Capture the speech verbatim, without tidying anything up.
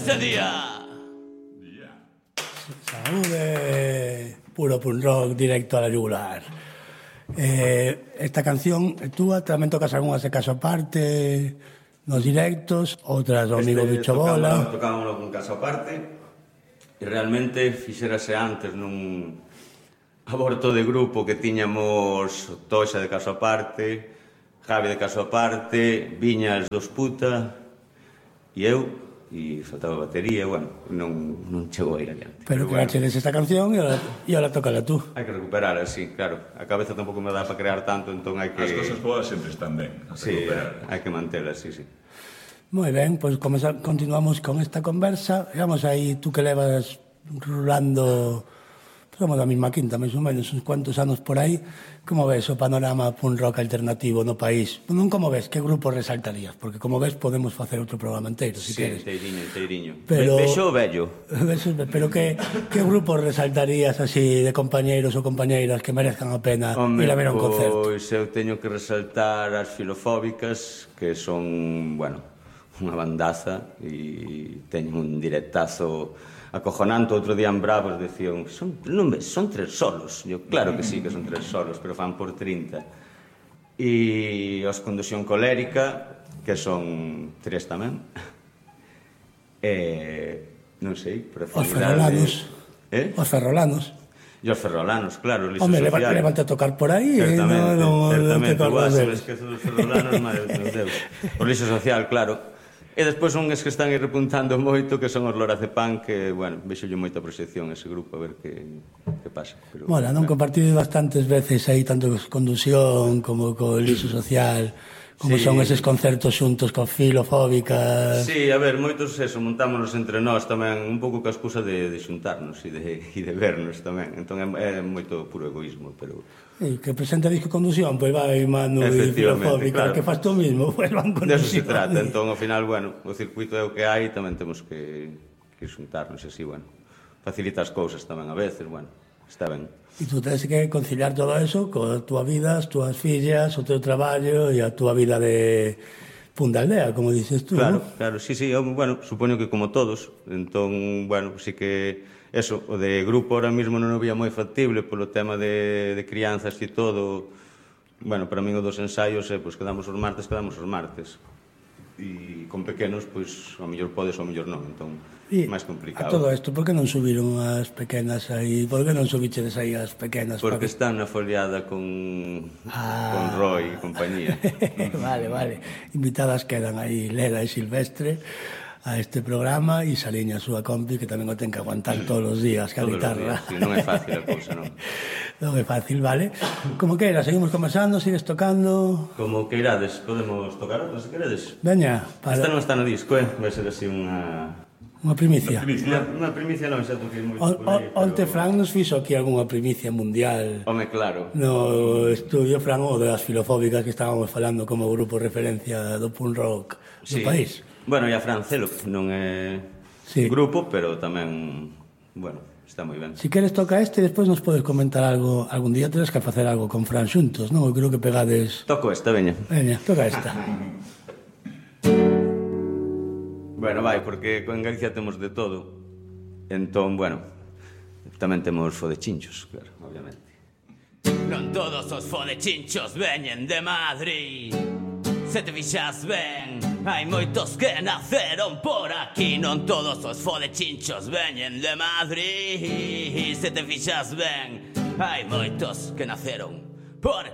Este día. Saúde, puro punk rock directo a la yugular. Eh, esta canción é túa, tamén tocas algunhas de caso aparte nos directos, outras do amigo este, Bicho Bola. Tocámoslo con caso aparte e realmente fixérase antes nun aborto de grupo que tiñamos Toxa de caso aparte, Javi de caso aparte, Viñas dos puta e eu, e faltaba batería, bueno, non, non chegou a ir adiante. Pero, pero que bueno, esta canción e ahora, e ahora tócala tú. Hai que recuperar, así, claro. A cabeza tampouco me dá para crear tanto, entón hai que... As cosas boas sempre están ben. Sí, hai que mantelas, sí, sí. Moi ben, pois pues continuamos con esta conversa. Vamos aí, tú que levas rulando... Somos da mesma quinta, máis ou menos, uns cuantos anos por aí. Como ves o panorama punk rock alternativo no país? Non como ves, que grupo resaltarías? Porque como ves, podemos facer outro programa inteiro, se sí, queres. Sí, teiriño, teiriño. Pero... Vexo o vello. Pero que, que grupo resaltarías así de compañeiros ou compañeiras que merezcan a pena Home, ir a ver a un pois concerto? Pois eu teño que resaltar as Filofóbicas, que son, bueno, unha bandaza e teñen un directazo acojonante. Outro día en Bravos decían, son, non ves, son tres solos. Eu, claro que sí que son tres solos, pero fan por trinta. E os Condusión Colérica, que son tres tamén. E, non sei, Os Ferrolanos. Eh? Os Ferrolanos. E os Ferrolanos, claro, Liso Home, Social. levante a tocar por aí. Certamente, no, no, certamente. no Boa, se me esquezo dos Ferrolanos, madre de Deus. O Liso Social, claro. E despois son es que están aí repuntando moito, que son os Lorazepam, que, bueno, vexo yo moita proxección ese grupo, a ver que, que pasa. Pero, bueno, non claro. compartido bastantes veces aí, tanto con Condusión como co Liso Social, como sí. Son eses concertos xuntos con Filofóbicas. Sí, a ver, moitos eso, montámonos entre nós tamén, un pouco ca excusa de, de xuntarnos e de, e de vernos tamén. Entón é, é moito puro egoísmo, pero... Sí, que presenta disco Condusión, pois vai Manu e Filofóbica, claro. Que faz tú mismo, pois van Condusión. De eso se trata, entón ao final, bueno, o circuito é o que hai, tamén temos que, que xuntarnos, e así, bueno, facilita as cousas tamén a veces, bueno, está ben. E tú tens que conciliar todo eso coa túa vida, as túas fillas, o teu traballo e a túa vida de punta aldea, como dices tú, claro, ¿no? Claro, sí, sí, eu, bueno, supoño que como todos, entón, bueno, sí que... Eso, o de grupo ahora mismo non o vía moi factible polo tema de, de crianzas e todo. Bueno, para min o dos ensaios é, pois, quedamos os martes, quedamos os martes. E con pequenos, pois, ao mellor podes, ao mellor non, entón, e máis complicado. A todo isto, por que non subiron as pequenas aí? Por que non subichedes aí as pequenas? Porque para... están na foliada con, ah. con Roy e compañía. Vale, vale. Invitadas quedan aí Leda e Silvestre a este programa e Saliña a súa compi, que tamén o ten que aguantar todos os días que a guitarra. Días, sí, non é fácil a cousa, non. Non é fácil, vale? Como que era, seguimos conversando, sigues tocando? Como que irades, podemos tocar outra, se queredes. Veña, para... Esta non está no disco, eh? Vai ser así unha... Unha primicia. Unha, unha primicia non, xa toquei moito o, por aí. O, onte pero... Fran nos fixo aquí algunha primicia mundial. Home, claro. No estudio Fran, o das Filofóbicas que estábamos falando como grupo referencia do punk rock do sí. país. Bueno, e a Fran Celo, non é sí. grupo, pero tamén, bueno, está moi ben. Si queres toca este, despois nos podes comentar algo, algún día teres que facer algo con Fran xuntos, non? Eu creo que pegades... Toco esta, veña. Veña, toca esta. Bueno, vai, porque en Galicia temos de todo. Entón, bueno, tamén temos fodechinchos, claro, obviamente. Non todos os fodechinchos veñen de Madrid. Se te fixas ben, hai moitos que naceron por aquí. Non todos os fodechinchos veñen de Madrid. Se te fixas ben, hai moitos que naceron por